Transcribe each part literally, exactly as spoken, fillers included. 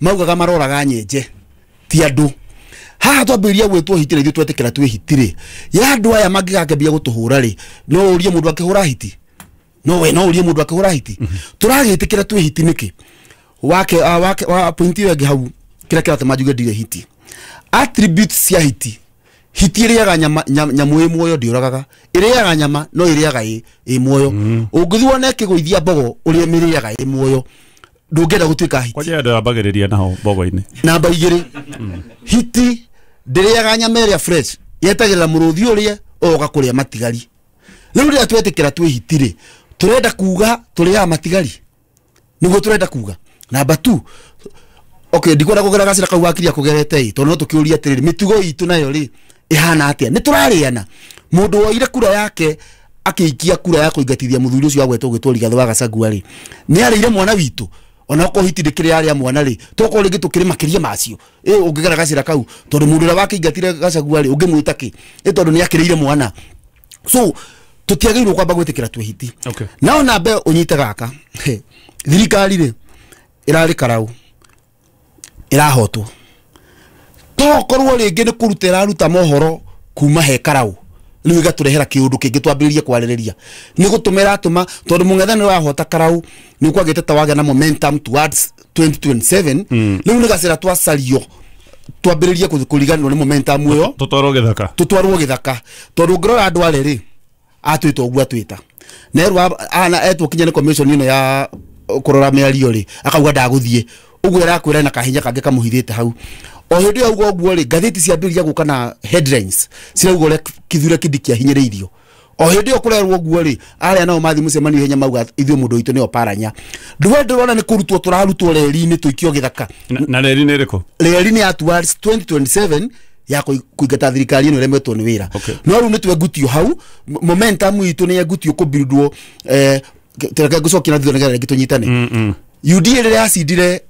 Maugaga maroraga nyenje ti andũ. Haha twambĩrĩria gwĩtwo hiti rĩ, ithuĩ twetĩkĩra twĩ hiti rĩ, ya andũ aya mangĩgakĩambia gũtũhũra rĩ, no ũrie mũndũ akĩhũra hiti? No we no ũrie mũndũ akĩhũra hiti? Tũragĩtĩkĩra twĩ hiti nĩkĩ? Wake uh, wake wa point ĩyo ĩngĩ hau, kĩrĩa kĩratũma njuge ndirĩ hiti, attributes cia hiti. Hiti ĩrĩaga nyama, nyamũ ĩ muoyo ndĩũragaga, ĩrĩaga nyama no ĩrĩaga ĩ ĩ muoyo. Ũngĩthiĩ wone ĩkĩgũithia mbogo ũrĩa mĩrĩaga ĩ muoyo, ndũngĩenda gũtuĩka hiti. Kwanja andũ ambagĩrĩria naho mbogo-inĩ. Namba igĩrĩ, hiti ndĩrĩaga nyama ĩrĩa fresh, yetagĩrĩra mũrũthi ũrĩe ũgoka kũrĩa matigari. Rĩu rĩrĩa twetĩkĩra twĩ hiti rĩ, tũrenda kuga tũrĩaga matigari, nĩguo tũrenda kuga. Namba two, okay, ndikwenda kũgera gacĩra kau wakiria kũgerete ĩ, tondũ no tũkĩũria atĩrĩrĩ, mĩtugo itũ nayo rĩ ĩhana atĩa? Nĩ tũrarĩana. Mũndũ woire kura yake akĩikia kura ya kũingatithia mũthuri ũcio agwetwo gwĩtwo Rigathĩ wa Gachagua rĩ, nĩ arĩire mwana witũ? Ona okorwo hiti ndĩkĩrĩ yarĩa mwana rĩ, tokorwo rĩngĩ tũkĩrĩ makĩria macio ĩ ũngĩgera gacĩra kau, tondũ mũndũ ũrĩa wakĩingatire Gachagua rĩ, ũngĩmwĩta kĩ? Ĩ tondũ nĩ akĩrĩire mwana. So tũtiagĩrĩirwo kwamba gwĩtĩkĩra twĩ hiti. Okay. Nao nambe ũnyite gaka, thirikari rĩ ĩrarĩ karau ĩrahotwo, tokorwo rĩngĩ nĩ kũruta ĩraruta mohoro kuma he karau, rĩu ĩgatũrehera kĩũndũ kĩngĩ twambĩrĩrie kwarĩrĩria. Nĩ gũtũma ĩratũma, tondũ mũng'ethanĩro wahota karau nĩ kwagĩte ta wagĩa na momentum towards twenty twenty-seven. Rĩu nĩ gacĩra twacario twambĩrĩrie kũriganĩrwo nĩ momentum ĩyo, tũtwarwo gĩthaka, tũtwarwo gĩthaka. Tondũ ũngĩrora andũ arĩ rĩ, atwĩta ũguo atwĩta nerwo ana etwo kinya nĩ commission ĩno ya kũrora mĩario rĩ, akauga ndagũthiĩ ũguo, ĩrakwĩra na kahinya kangĩ kamũhithĩte hau. O hĩndĩ ĩyo ũguo ũguo rĩ, ngathĩti ciambĩrĩria gũka na headlines cirauga ũrĩa Kithure Kindiki ahinyĩrĩirio. O hĩndĩ ĩyo kũrerwo ũguo rĩ, arĩa nao mathiĩ mũcemanio ihenya mauga ithuĩ mũndũ witũ nĩo paranya. Ndũwe ndĩrona nĩ kũrutwo tũrarutwo reri-inĩ tũikio gĩthaka. Na reri nĩ ĩrĩkũ? Reri nĩ ya towards twenty twenty-seven ya kũingata thirikari ĩno ĩremetwo nĩ wĩra. No rĩu nĩ twengutio hau, momentum itũ nĩ yengutio kũbuildwo. Eh, reke ngũcokia na thutha nĩgetha rĩngĩ tũnyitane. U D A rĩrĩa yacindire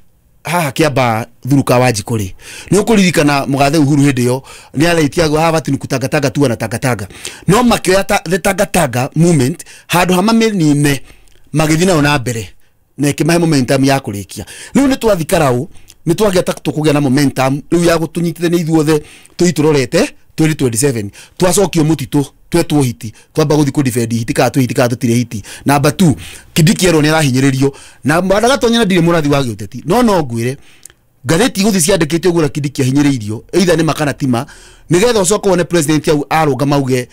haha Kĩambaa Thuruka wa Njikũ rĩ, nĩ ũkũririkana mũgathe Uhuru hĩndĩ ĩyo nĩ araitia haha bati kutangatanga tu na tangatanga, no makĩoya the tangatanga movement handũ ha mamĩnine magĩthiĩ nayo na mbere na ĩkĩmahe momentum ya kũrĩkia. Rĩu nĩ twathi karau, nĩ twagĩa ta tũkũgĩa na momentum rĩu ya gũtũnyitithania ithuothe tũthiĩ tũrorete twenty twenty-seven. Twacokio mũtitũ twetwo hiti, twamba gũthiĩ kũ-defend hiti kana twĩ hiti kana tũtirĩ hiti. Number two, Kindiki erwo nĩ arahinyĩrĩrio na Gatonya, na ndirĩ mũrathi wa gĩũteti, no no ngwĩre ngathĩti igũthiĩ ciandĩkĩte ũguo ũrĩa Kindiki ahinyĩrĩirio, either nĩ ma kana ti ma, nĩgetha ũcoke wone president au arũgama auge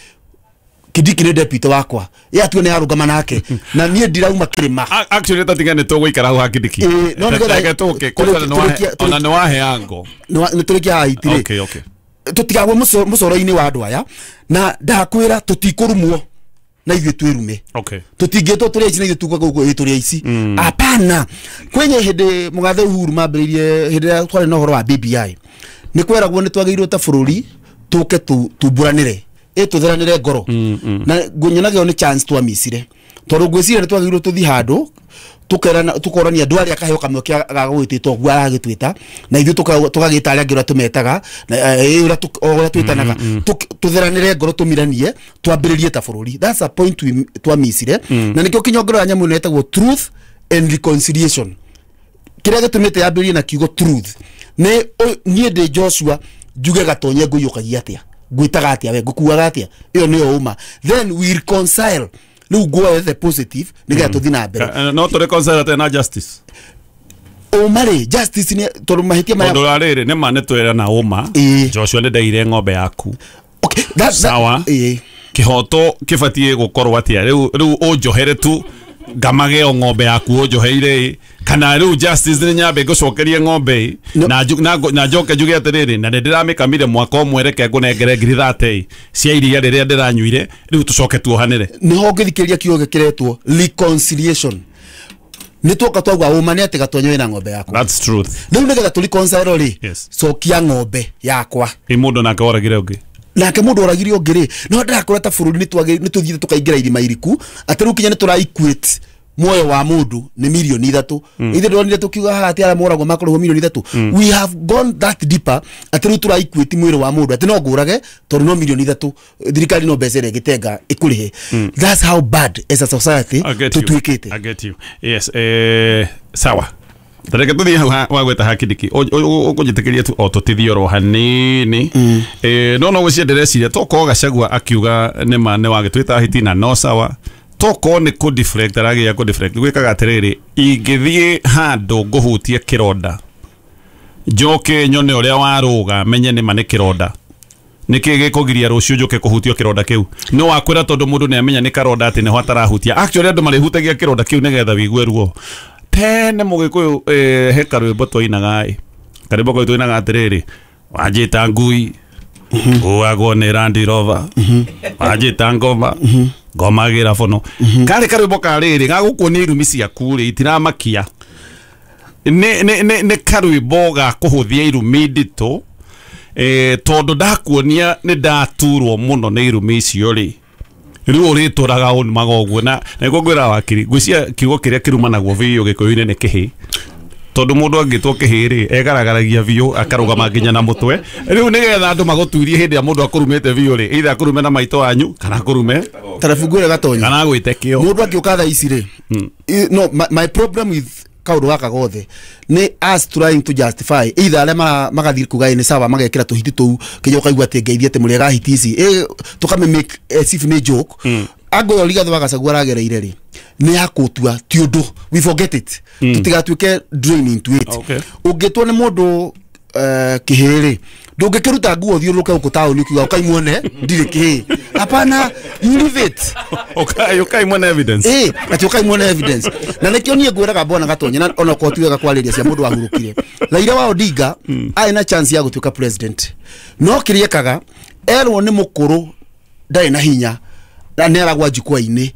Kindiki nĩ deputy wakwa, ye atue nĩ arũgama nake na niĩ ndirauma kĩrĩma. Actually tatiga nĩ tũgũikara hau ha Kindiki. No nĩgetha tũke ona nĩ wahe ango nĩ tũrĩkia haha hiti rĩ. Okay, okay. Tũtigagwo mũcoro-inĩ wa andũ aya, na ndakwĩra tũtikũrumwo na ithuĩ twĩrume. Okay. Tũtingĩtwo tũrĩ aici na ithuĩ tuuga gũkũ ĩ tũrĩ aici. Hapana. Kwenye hĩndĩ mũgathe Uhuru mambĩrĩirie, hĩndĩ ĩrĩa twarĩ na ũhoro wa B B I, nĩ kweragwo nĩ twagĩrĩirwo ta bũrũri tũke tumburanĩre, ĩ tũtheranĩre ngoro. Na nyonaga ĩyo nĩ chance twamicire, tondũ ngwĩciria nĩ twagĩrĩirwo tũthiĩ handũ tukerana tukorania andũ arĩa akaheo kamweke ga gwĩtĩtwo ũguo aragĩtwĩta, na ithuĩ tũgagĩta arĩa angĩ ũrĩa tũmetaga, na ũrĩa ũrĩa twĩtanaga, tũtheranĩre ngoro, tũmiranie, twambĩrĩrie ta bũrũri. That's a point we twamicire, na nĩkĩo kinyongero ya nyamũ ĩno ĩtagwo truth and reconciliation. Kĩrĩa gĩtũmĩte yambĩrĩrie na kiugo truth nĩ niĩ ndĩ Joshua njuge Gatonye ngũiyũkagia atĩa, ngwĩtaga atĩa, we ngũkuaga atĩa, ĩyo nĩyo ũma. Then we reconcile. Rĩu nguoe the positive nĩgetha tũthiĩ na mbere. No tũ reconcile atĩa na justice? Ũma rĩ, justice nĩ tondũ mahĩtia maya, tondũ rĩrĩ nĩ ma nĩ twĩra na ũma. Joshua nĩ ndaire ng'ombe yaku. Okay, that sawa. Kĩhoto kĩbatiĩ gũkorwo atĩa? Rĩu rĩu ũnjohere tu ngamage o ng'ombe yaku ũnjoheire, kana rĩu justice nĩ nyambe ngũcokerie ng'ombe na na njoke njuge atĩrĩrĩ, na nĩ ndĩramĩkamire mwaka ũmwe, reke ngũnengere ngiri thate cia iria rĩrĩa ndĩranyuire, rĩu tũcoke tuohanĩre. Nĩho ngĩthikĩrĩria kiugo gĩkĩretwo reconciliation. Nĩ tuoka twauga ũma nĩ atĩ Gatonyo wĩna ng'ombe yaku. That's truth. Rĩu nĩgetha tũ reconcile rĩ, cokia ng'ombe yakwa. Ĩ mũndũ nake oragire ũngĩ, nake mũndũ oragire ũngĩ rĩ, no ndĩrakora ta bũrũri nĩ tũthiĩte tũkaingĩra irima iriku, atĩ rĩu kinya nĩ tũra equate muoyo wa mũndũ nĩ milioni ithatũ. Ithuĩ ndĩronire tũkiuga haha atĩ arĩa moragwo makoragwo milioni ithatũ. We have gone that deeper atĩ rĩu tũra equate mwĩrĩ wa mũndũ atĩ no ngũrage tondũ no milioni ithatũ, thirikari no mbeca ĩrĩa ĩngĩtenga ĩkũrĩhe. That's how bad as a society tũtuĩkĩte. I get you. Yes, eh, sawa. Tareke tuthie hau wagweta hakindiki ũkũnjĩtĩkĩria tu o tũtithie oro hanini. Eh no no gwĩciria ndĩreciria tokorwo Gachagua akiuga nĩma nĩ wagĩtwĩta hiti na no sawa, tokorwo nĩ kũ deflect arageria kũ deflect gwĩkaga atĩrĩrĩ, ingĩthiĩ handũ ngũhutie kĩronda njoke nyone ũrĩa warũga menye nĩma nĩ kĩronda, nĩkĩ gĩkũgiria rũciũ njoke kũhutio kĩronda kĩu? No wakwĩra tondũ mũndũ nĩamenya nĩ karonda atĩ nĩho atarahutia. Actually andũ marĩhutagia kĩronda kĩu nĩgetha wĩigue ruo. Tene mũgĩkũyũ eh, he karwĩmbo twainaga ĩ, karwĩmbo kau twainaga atĩrĩrĩ, wanjĩta ngui nguagwo nĩ Land Rover, wanjĩta ngoma ngomagĩra bono. Karĩ karwĩmbo karĩrĩ gagũkuonia irumi ciaku rĩ itiramakia. Nĩ nĩ nĩ nĩ karwĩmbo ga kũhũthia irumi nditũ, eh tondũ ndakuonia nĩ ndaturwo mũno nĩ irumi icio rĩ, rĩu ũrĩtũraga ũnumaga ũguo. Na nĩguo ngwĩra wakiri, ngwĩciria kiugo kĩrĩa kĩrumanagwo biũ gĩkũyũ-inĩ nĩ kĩhĩ, tondũ mũndũ angĩtwo kĩhĩ rĩ egaragaragia biũ akarũgama nginya na mũtwe. Rĩu nĩgetha andũ magũturie hĩndĩ ĩrĩa mũndũ akũrumĩte biũ rĩ, either akũrume na maitũ wanyu kana akũrume tarabu ngwĩre Gatonya kana agwĩte kĩo. Mũndũ angĩũka thaa ici rĩ, no my, my problem with kaũndũ gaka gothe nĩ us trying to justify either arĩa magathiĩ kuga nĩ sawa magekĩra tũhiti tũu kinya ũkaigua atĩ ngeithie atĩ mũrĩega hiti ici ĩ tũkame make as if nĩ joke. Ango ĩyo Rigathĩ wa Gachagua aragereire rĩ nĩ ya kũtua ti ũndũ, we forget it, tũtigatuĩke drain into it. Ũngĩtwo nĩ mũndũ kĩhĩ rĩ, ndũngĩkĩruta nguo ũthiũrũrũke gũkũ taũni ũkiuga ũkai muone ndirĩ kĩhĩ. Hapana, you leave it. Ũkai ũkai muone evidence. Eh, ati ũkai muone evidence. Na nĩkĩo niĩ ngwĩraga bwana Gatonye na ona korwo ti wega kwarĩria cia mũndũ wahurũkire. Raila wa Odinga arĩ na chance ya gũtuĩka president, no kĩrĩa ekaga erwo nĩ mũkũrũ ndarĩ na hinya na nĩ aragwa jukwaa-inĩ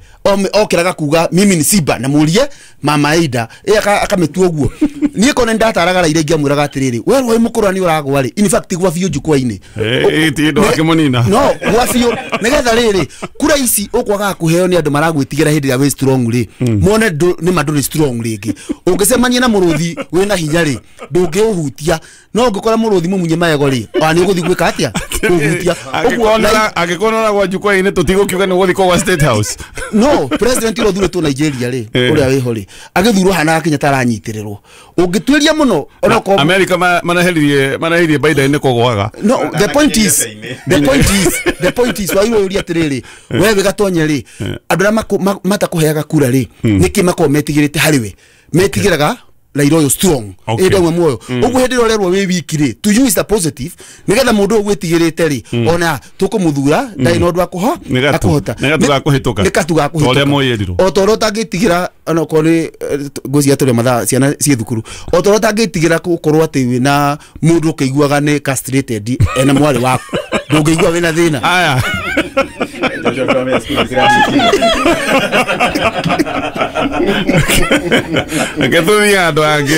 okĩraga kuga mimi ni Simba na mũrie mama Aida ĩ akamĩtua ũguo. Niĩ kona ndataraga Raila ingĩamwĩraga atĩrĩrĩ, we rwai mũkũrũ nĩ ũragwa rĩ, in fact gwa biũ jukwaa-inĩ ĩ ti ndũ akĩmũnina no gwa biũ nĩgetha rĩrĩ kura ici ũkwagaga kũheo nĩ andũ maragwĩtigĩra hĩndĩ ĩrĩa wĩ strong rĩ, mone nĩ ma ndũrĩ strong rĩngĩ. Ũngĩcemania na mũrũthi wĩna hinya rĩ ndũngĩũhutia, no ũngĩkora mũrũthi mũmunye magego rĩ ona nĩ ũgũthiĩ gwĩka atĩa kũhutia. Ũguo angĩkorwo nĩ ũragwa jukwaa-inĩ tũtigũkiuga nĩ ũgũthiĩ kũgwa State House. No president ũrĩa ũthurĩtwo Nigeria rĩ ũrĩa wĩho rĩ agĩthurwo hanaga Kenyatta aranyitĩrĩrwo ũngĩtuĩria mũno ona ko America manaheririe manaheririe Biden nĩ kũgwaga. No the point is the point is the point is why ũria atĩrĩrĩ we wĩ Gatonye rĩ andũ arĩa matakũheaga kura rĩ nĩkĩ makoragwo metigĩrĩte harĩ we, metigĩraga Raila ũyũ strong ĩndĩ ũmwe muoyo ũguo hĩndĩ ĩrĩa ũrerwo wĩ wiki rĩ to you is a positive nĩgetha mũndũ ũyũ gwĩtigĩrĩte rĩ ona tũkũmũthura ndarĩ na ũndũ wa kũhota nĩ gatu ga kũhĩtũka nĩ gatu ga kũhĩtũka ũrĩa mũyĩrirwo o ta ũrĩa ũtangĩtigĩra ona okorwo nĩ ngwĩciria tũrĩ mathaa ciana ciĩ thukuru o ta ũrĩa ũtangĩtigĩra gũkorwo atĩ wĩna mũndũ ũkĩiguaga nĩ castrated ena mwarĩ waku ndũngĩigua wĩna thĩna. Aya Reke tũthiĩ handũ hangĩ.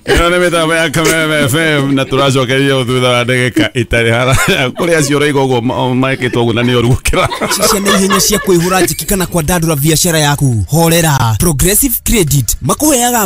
Ĩno nĩ mĩtambo ya Kameme F M na tũracokeria thutha wa ndagĩka itarĩ haraya kũrĩ acio ũraigua ũguo mekĩtwo ũguo na nĩ ũru gũkĩra. Ciana ihenya cia kwĩhũra njiki kana kwandandũra biacara yaku, horera. Progressive Credit makũheaga